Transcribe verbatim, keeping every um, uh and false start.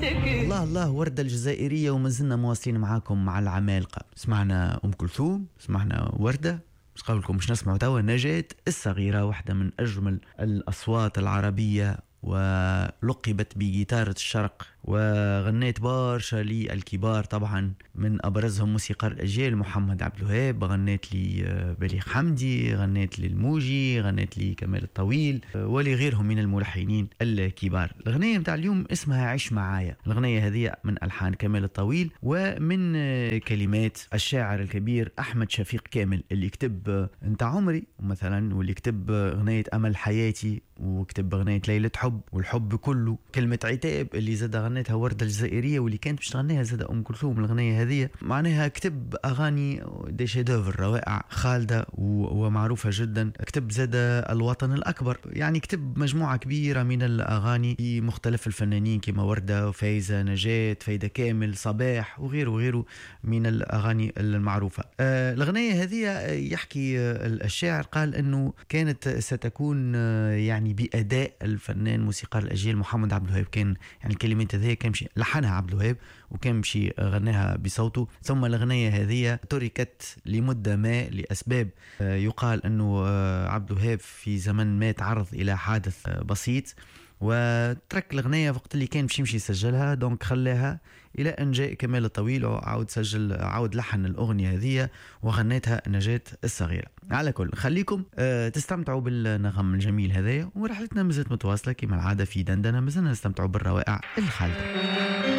الله الله، وردة الجزائرية. وما زلنا مواصلين معاكم مع العمالقة. سمعنا أم كلثوم، سمعنا وردة، مش قولكم مش نسمعوا توا نجاة الصغيرة، واحدة من أجمل الأصوات العربية ولقبت بجيتارة الشرق، وغنيت برشا للكبار، طبعا من أبرزهم موسيقار الأجيال محمد عبد الوهاب، غنيت لي بليغ حمدي، غنيت للموجي، غنيت لي كمال الطويل ولغيرهم من الملحنين الكبار. الأغنية متاع اليوم اسمها عيش معايا. الأغنية هذه من ألحان كمال الطويل ومن كلمات الشاعر الكبير أحمد شفيق كامل، اللي كتب انت عمري مثلا، واللي كتب أغنية أمل حياتي، وكتب أغنية ليلة حب والحب كله، كلمة عتاب اللي زاد غنيتها وردة الجزائرية واللي كانت باش تغنيها زاد أم كلثوم الأغنية هذه. معناها كتب أغاني des chefs-d'œuvre روائع خالدة ومعروفة جدا. كتب زاد الوطن الأكبر، يعني كتب مجموعة كبيرة من الأغاني لمختلف الفنانين كما وردة وفايزة نجاة، فايدة كامل، صباح وغيره وغيره من الأغاني المعروفة. آه الأغنية هذه يحكي الشاعر قال أنه كانت ستكون يعني بأداء الفنان موسيقار الأجيال محمد عبد الوهاب. كان يعني الكلمات هذه كان مشي لحنها عبد الوهاب وكان مشي غناها بصوته، ثم الأغنية هذه تركت لمدة ما لأسباب. يقال أنه عبد الوهاب في زمن ما تعرض إلى حادث بسيط وترك الأغنية وقت اللي كان باش يمشي يسجلها، donc خلاها إلى أن جاء كمال الطويل وعاود سجل، عاود لحن الأغنية هذه وغنتها نجاة الصغيرة. على كل خليكم أه تستمتعوا بالنغم الجميل هذايا، ورحلتنا مازالت متواصلة كما العادة في دندنة، مازلنا نستمتعوا بالروائع الخالدة.